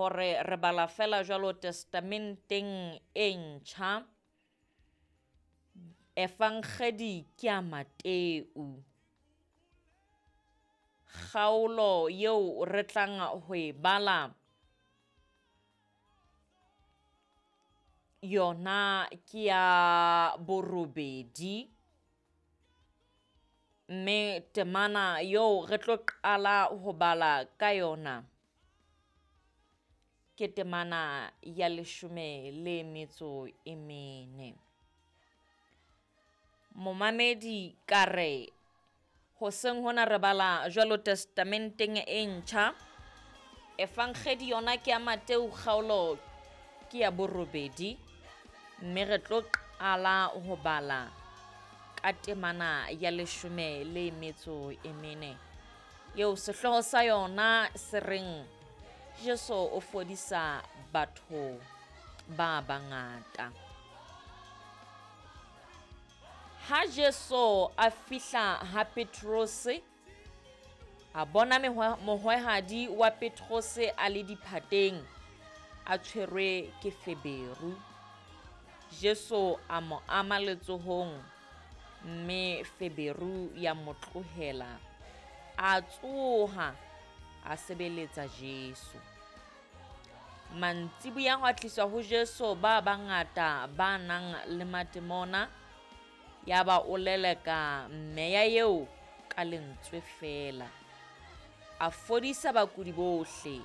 Hore re bala fela jwalo testamenteng e ntjha. Efankgedi ke ya Mateu. Kgaolo eo re tlang ho e bala yona ke ya borobedi, mme temana eo re tlo qala ho bala ka yona ke temana ya leshome le metso e mene. Momamedi ka re hoseng hona re bala jwalo testamenteng e ntjha. Efankgedi yona ke ya Mateu kgaolo ke ya borobedi, mme re tlo qala ho bala ka temana ya leshome le metso e mene. Eo sehlooho sa yona se reng Jesu o fodisa batho ba bangata. Ha Jesu a fihla ha Petrose, a bona mohwehadi wa Petrose a le diphateng, a tshwerwe ke feberu. Jesu a mo ama letsohong, mme feberu ya mo tlohela. A tsoha, a sebeletsa Jesu. Mantsiboya hwa tliswa ho Jesu ba bangata ba nang le matemona, yaba o leleka meya eo ka lentswe feela. A fodisa bakudi bohle,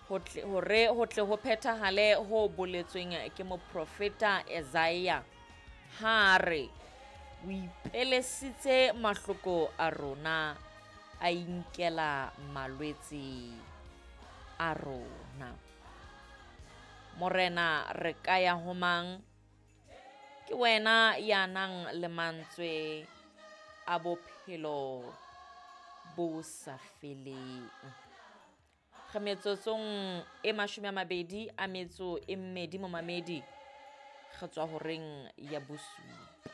hore ho tle ho phethahale ho boletsweng ke moprofeta Esaia, ha a re, o ipelesitse mahloko a rona, a inkela malwetse a rona. Morena, re ka ya ho mang? Ke wena ya nang le mantswe a bophelo bo sa feleng. Re metsotsong e 22 momamedi, re tswa horeng ya bosupa.